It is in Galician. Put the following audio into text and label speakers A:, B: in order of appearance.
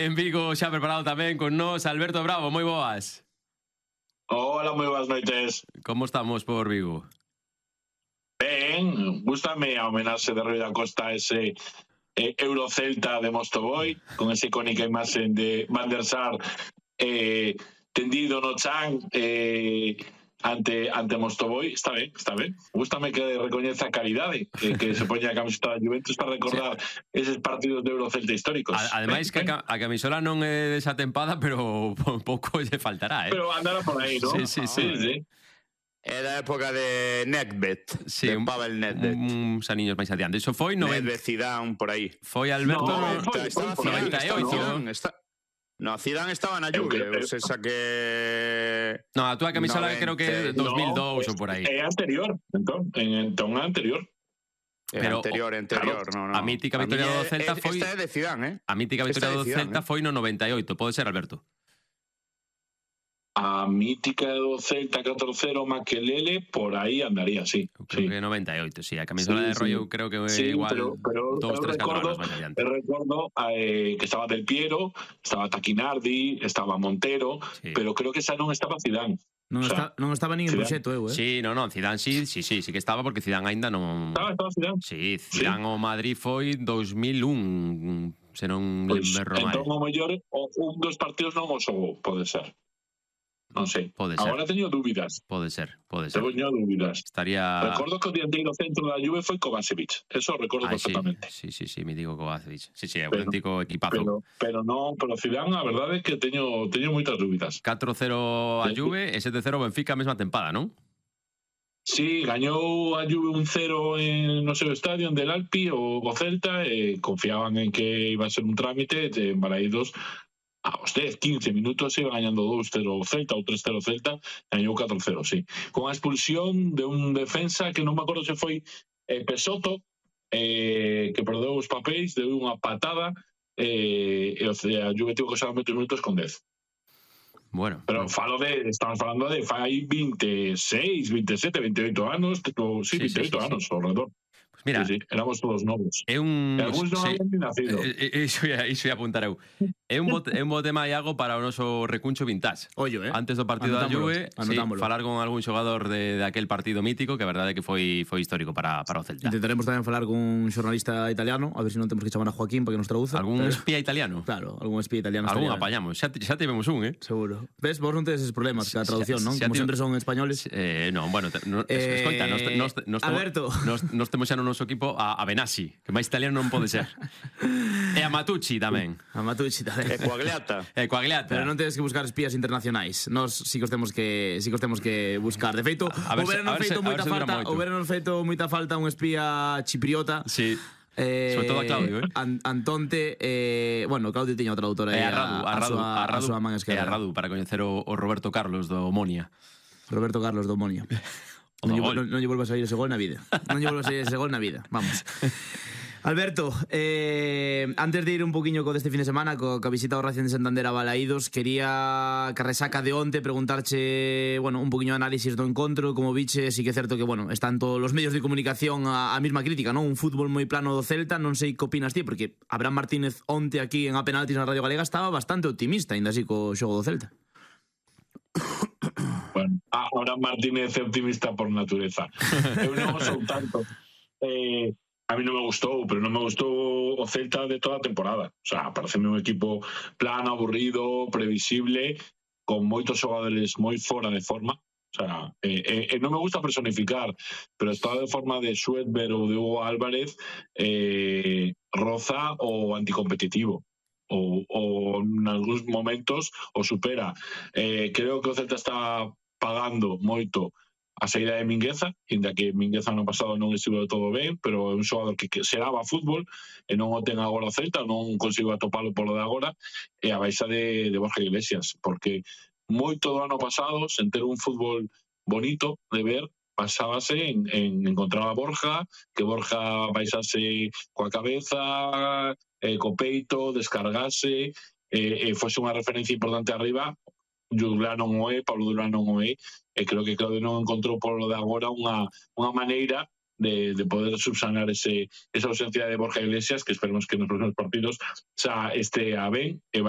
A: En Vigo xa preparado tamén con nós Alberto Bravo, moi boas.
B: Hola, moi boas noites.
A: Como estamos por Vigo?
B: Ben, gústame a homenaxe de Rui da Costa a ese Eurocelta de Mostovoy, con esa icónica imaxen de Van der Sar tendido no chan ante Mostovoy. Está ben. Gústame que recoñeza a calidade, que se poña a camiseta da Juventus para recordar eses partidos de Eurocelta históricos.
A: Ademais que a camisola non é desa tempada, pero pouco lle faltará,
B: Pero andará por aí, non?
A: Sí.
C: É da época de Nedved,
A: sí,
C: de Pavel Nedved.
A: Uns aniños máis adiante. Iso foi
C: Nedved, Zidane, por aí.
A: Foi Alberto...
C: Estaba Zidane, No, Zidane estaba na Juve, ou esa que...
A: No, a túa camisola creo que 2002 ou por aí.
B: É anterior, entón anterior.
C: Pero anterior, no.
A: A mítica victoria do Celta foi...
C: Esta é de Zidane,
A: A mítica victoria do Celta foi no 98, pode ser, Alberto?
B: A mítica do Celta 4-0 Makelele, por aí andaría, sí.
A: Creo que 98, sí. A camisola de Rollo creo que igual
B: pero
A: 2, 3, 4 anos máis adiante.
B: Recordo que estaba Del Piero, estaba Taquinardi, estaba Montero, pero creo que esa non estaba Zidane.
D: Non estaba nin en proxecto,
A: Sí, non, Zidane sí que estaba, porque Zidane aínda non...
B: Estaba Zidane?
A: Sí, Zidane o Madrid foi 2001, se non lembro mal.
B: Entón, o mellor, un dos partidos non o xogou, pode ser. Non sei. Agora teño dúbidas.
A: Pode ser.
B: Teño dúbidas. Recordo que o dianteiro centro da Juve foi Kovacevic. Eso recordo perfectamente.
A: Sí, me digo Kovacevic. Sí, é auténtico equipazo.
B: Pero Zidane, a verdade é que teño moitas dúbidas.
A: 4-0 a Juve e 7-0 Benfica a mesma tempada, non?
B: Sí, gañou a Juve 1-0 no seu estadio, en Del Alpi, o Celta, e confiaban en que iba a ser un trámite, e en Balaídos aos 10-15 minutos iba gañando 2-0 o Celta ou 3-0 o Celta, gañou 4-0, sí. Con a expulsión de un defensa que non me acordo se foi Pesoto, que perdeu os papéis, deu unha patada, e a Juve tivo que usar 20 minutos con 10.
A: Bueno.
B: Pero estamos falando de fai 26, 27, 28 anos, sí, 28 anos ao redor.
A: Mira,
B: éramos todos novos.
A: É un...
B: Algúns non habían nacido.
A: Iso ia apuntar eu. É un bo tema, Iago, para o noso recuncho vintage.
D: Ollo,
A: Antes do partido da Juve, falar con algún xogador de aquel partido mítico, que a verdade é que foi histórico para o Celta.
D: Intentaremos tamén falar con un xornalista italiano, a ver se non temos que chamar a Joaquín para que nos traduza.
A: Algún espía italiano?
D: Claro, algún espía italiano.
A: Algún apañamos, xa tivemos un,
D: Seguro. Ves, vos non tedes eses problemas ca traducción, non? Como sempre son españoles.
A: Non, bueno, escoita,
D: Alberto,
A: nos temos xa no noso equipo a Benassi, que máis italiano non pode ser. E a Matucci tamén.
C: E Coagliata.
D: Pero non tedes que buscar espías internacionais. Nós si que os temos que buscar. De feito, o verano feito moita falta un espía chipriota.
A: Sí. Sobre todo a Claudio,
D: Antonte, bueno, Claudio tiña o traductor aí a súa man esquerda.
A: E a Radu, para coñecer o Roberto Carlos do Omonia.
D: Non lle volvas a sair ese gol na vida. Vamos. Alberto, antes de ir un poquinho co deste fin de semana, co visita ao Racing de Santander a Balaídos, quería que resaca de onte preguntarche, bueno, un poquinho de análisis do encontro, como viche, si que é certo que, bueno, están todos os medios de comunicación a mesma crítica, non? Un fútbol moi plano do Celta, non sei que opinas ti, porque Abraham Martínez onte aquí en A Penaltis na Radio Galega estaba bastante optimista, ainda así co xogo do Celta.
B: Bueno, ahora Martínez é optimista por natureza. Eu non sou tanto. A mí non me gustou, pero non me gustou o Celta de toda a temporada. O sea, pareceme un equipo plano, aburrido, previsible, con moitos xogadores moi fora de forma. O sea, non me gusta personificar, pero está de forma de Schwedberg ou de Hugo Álvarez, roza o anticompetitivo. O en algúns momentos o supera. Creo que o Celta está pagando moito a saída de Mingueza, inda que Mingueza no pasado non estivo todo ben, pero é un xogador que seraba fútbol e non o ten agora o Celta, non consigo atopalo polo de agora, e a baixa de Borja Iglesias, porque moito do ano pasado, sen ter un fútbol bonito de ver, basábase en encontrar a Borja, que Borja baixase coa cabeza, co peito, descargase, e fose unha referencia importante arriba. Juglar non o é, Pablo Durán non o é, e creo que Claudio non encontrou por lo de agora unha maneira de poder subsanar esa ausencia de Borja Iglesias, que esperemos que nos próximos partidos xa este a ben e vai